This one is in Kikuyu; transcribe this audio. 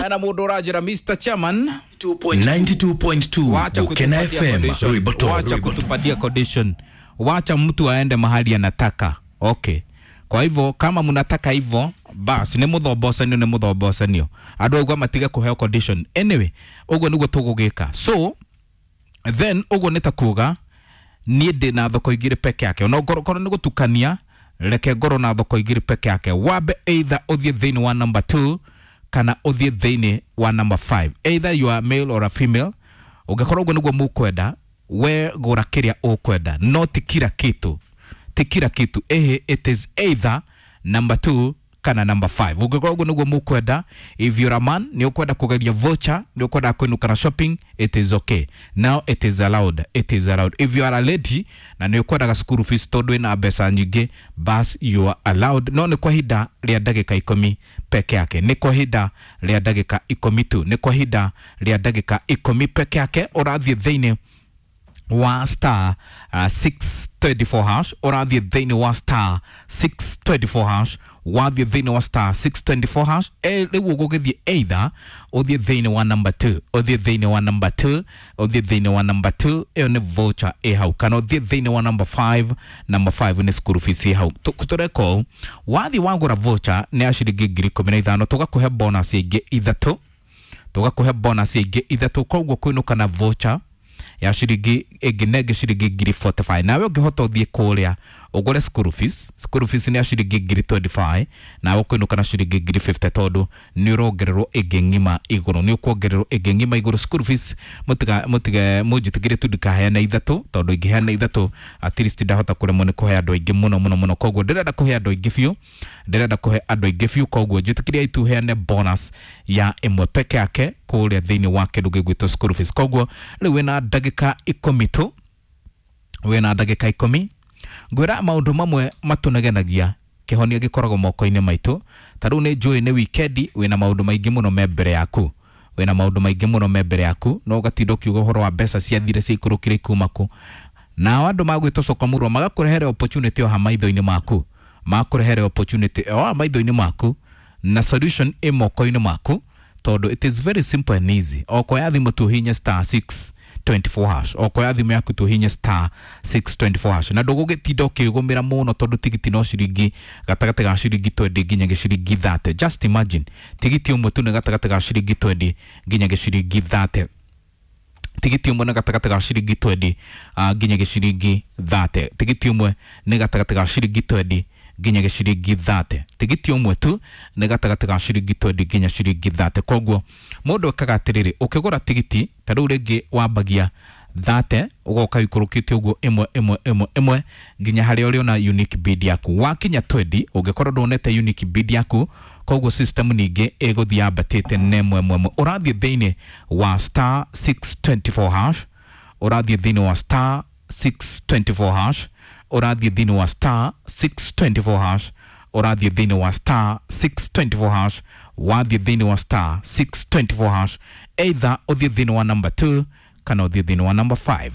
Na mundu uranjira Mr. Chairman 92.2 wacha Bukena kutupatia FM condition. Rwiboto. Wacha kutupatia condition, wacha mtu aende mahali anataka. Okay, kwa hivyo kama mnataka hivyo bas nĩ mũthombocanio nĩ mũthombocanio andũ aigua matige kũheo condition. Anyway, ũguo nĩguo tũgũgĩka. So then ũguo nĩ ta kuga niĩ ndĩ na thoko igĩrĩ peke yake, ona ngorwo nĩ gũtukania, reke ngorwo na thoko igĩrĩ peke yake. Wambe either ũthiĩ thĩinĩ wa number 2 kana ũthiĩ thĩinĩ wa number 5, either you are male or a female. Ũngĩkorwo ũguo nĩguo mũkwenda, we gũra kĩrĩa ũkwenda, no ti kila kitu, ti kila kitu. Ehe, it is either number 2 kana number 5. Ũngĩkorwo ũguo nĩguo mũkwenda, if you're a man, nĩ ũkwenda kũgeria voucher, nĩ ũkwenda kwĩnũka na shopping, it is okay, now it is allowed, it is allowed. If you are a lady na nĩ ũkwendaga school fees tondũ ĩna mbeca nyingĩ, bas you are allowed, no nĩ kwa ihinda rĩa ndagĩka 10 peke yake, nĩ kwa ihinda rĩa ndagĩka 10 tu, nĩ kwa ihinda rĩa ndagĩka 10 peke yake. Ũrathiĩ thĩinĩ wa star 624 hash, ũrathiĩ thĩinĩ wa star 624 hash, wathiĩ thĩinĩ wa star 624 hash. Rĩu ũgũgĩthiĩ either ũthiĩ thĩinĩ wa number 2, ũthiĩ thĩinĩ wa number 2, ũthiĩ thĩinĩ wa number 2, ĩyo nĩ voucher ĩ hau, kana ũthiĩ thĩinĩ wa number 5, number 5 nĩ school fees ĩ hau. Tũreka ũũ, wathiĩ wagũra voucher nĩ ya ciringi 15,000, tũgakũhe bonus ĩngĩ ithatũ, tũgakũhe bonus ĩngĩ ithatũ. Koguo kwĩnũka na voucher ya ciringi ĩngĩ na ĩngĩ ciringi 45,000. Nawe ũngĩhota ũthiĩ kũrĩa ũgũre school fees, school fees nĩ ya ciringi 25,000, nawe ũkũinũka na ciringi 50,000 tondũ nĩ ũrongererwo ĩngĩ ng'ima igũrũ, nĩ ũkuongererwo ĩngĩ ng'ima igũrũ. School fees mũtiga mũtige mũnjĩtĩkĩrie tu ndikaheane ithatũ, tondũ ingĩheana ithatũ at least ndahota kũremwo nĩ kũhe andũ aingĩ mũno mũno mũno. Koguo ndĩrenda kũhe andũ aingĩ biũ, ndĩrenda kũhe andũ aingĩ biũ, koguo njĩtĩkĩrie tu heane bonus ya ĩmwe peke yake kũrĩa thĩinĩ wa kĩndũ gĩgwĩtwo school fees. Koguo rĩu wĩna ndagĩka 10 tu, wĩna ndagĩka 10. Ngwĩra maũndũ mamwe matũnegenagia, kĩhonia gĩkoragwo moko-inĩ maitũ. Ta rĩu nĩ njũĩ nĩ wikendi, wĩna maũndũ maingĩ mũno me mbere yaku, wĩna maũndũ maingĩ mũno me mbere yaku, no ũgatinda ũkiuga ũhoro wa mbeca ciathire ciaikũrũkire ikuma kũ. Nao andũ magwĩtwo cokamũrwa magakũrehere opportunity o ha maitho-inĩ maku, makũrehere opportunity o ha maitho-inĩ maku, na solution ĩ moko-inĩ maku, tondũ it is very simple and easy. Okoya thimũ tu hinya star 624 hash, okoya thimũ yaku tu hinya star 624 hash, na ndũgũgĩtinda ũkĩgũmĩra mũno tondũ tigiti no ciringi gatagatĩ ga ciringi 20 nginya gĩciringi 30. Just imagine, tigiti ũmwe tu nĩ gatagatĩ ga ciringi 20 nginya gĩciringi 30, tigiti ũmwe nĩ gatagatĩ ga ciringi 20 nginya gĩciringi 30, tigiti ũmwe nĩ gatagatĩ ga ciringi 20 nginya gĩciringi 30, tigiti ũmwe tu nĩ gatagatĩ ga ciringi 20 nginya ciringi 30. Koguo mũndũ ekaga atĩrĩrĩ, ũkĩgũra tigiti ta rĩu rĩngĩ wambagia 30, ũgoka ũikũrũkĩte ũguo ĩmwe ĩmwe ĩmwe ĩmwe nginya harĩa ũrĩona unique bid yaku. Wakinya 20, ũngĩkorwo ndwonete unique bid yaku, koguo system ningĩ ĩgũthiĩ yambatĩte na ĩmwe ĩmwe ĩmwe. Ũrathiĩ thĩinĩ wa star 624 hash, ũrathiĩ thĩinĩ wa star 624 hash, ũrathiĩ thĩinĩ wa star 624 hash, ũrathiĩ thĩinĩ wa star 624 hash, wathiĩ thĩinĩ wa star 624 hash, either ũthiĩ thĩinĩ wa number 2 kana ũthiĩ thĩinĩ wa number 5.